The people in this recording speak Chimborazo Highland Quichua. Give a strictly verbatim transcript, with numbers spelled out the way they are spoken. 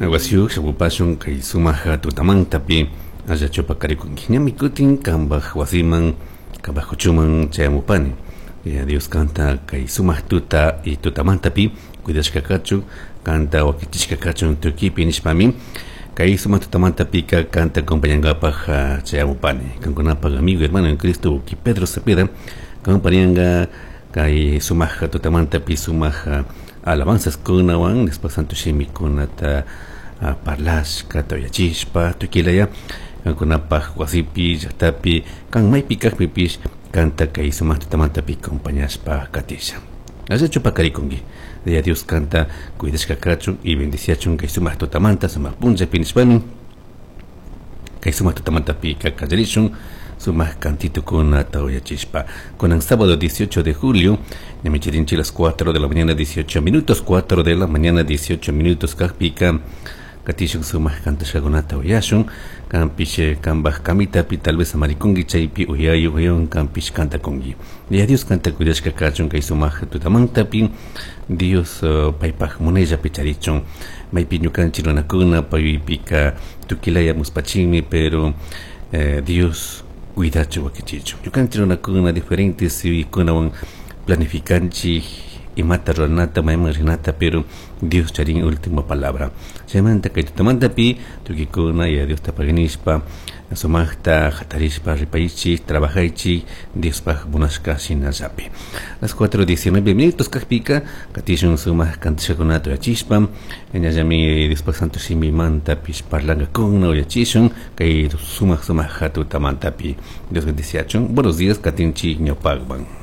Wasiyuq shamupashun kay sumaq tutamantapi allachu paqarikunki ñami kutin kanpaj wasiman kanpaj kuchuman chayamupani. Ya Dios kanta kay sumaq tuta y tutamantapi cuidashka kachun kanta wakichishka kachun tukipi nishpami kay sumaq tutamantapika kanta acompañankapaj chayamupani kankunapaj amigo hermano en Cristo ki Pedro Cepeda acompañanga kay sumaq tutamantapi sumaq alabanzas kunawan después santo shimikunata parlashka tuyachishpa tukilaya kankunapaj wasipi llaqtapi kan maypi kaqpipish kanta kay sumaq tutamantapi acompañashpa katisha allachu paqarikunki de Dios kanta cuidashka kachun y bendiciachun kay sumaq tutamanta sumaq punllapi nishpami kay sumaq tutamantapi kallarishun sumaq cantitukuna uyachishpa kunan sábado dieciocho de julio ñami chirinchi las cuatro de la mañana dieciocho minutos, cuatro de la mañana dieciocho minutos kaqpika katishun sumaq kantashkakunata uyashun kanpish kanpaj kamitapi tal vez samarikunki chaypi uyayu uyawan kanpish kantakunki ya Dios kanta cuidashka kachun kay sumaq tutamantapi Dios uh, paypaj munayllapi charichun maypi ñukanchik runakuna paypika tukilaya muspachinmi pero eh, Dios cuidachu wakichichun ñukanchik runakuna diferentes yuyaykunawan planificanchik imata ruranata mayman rinata pero Dios charin última palabra chaymanta kay tutamantapi tukikuna ya Dios tapaginishpa sumaqta hatarishpa ripaychik trabajaychik Diospaj munashka shinallapi las cuatro diecinueve minutos kaqpika katishun sumaq kantashkakunata uyachishpa ñallami Diospaj santo shimimantapish parlankakuna uyachishun kay sumaq sumaq tutamantapi Dios bendiciachun. Buenos días, katinchik ñawpaqman.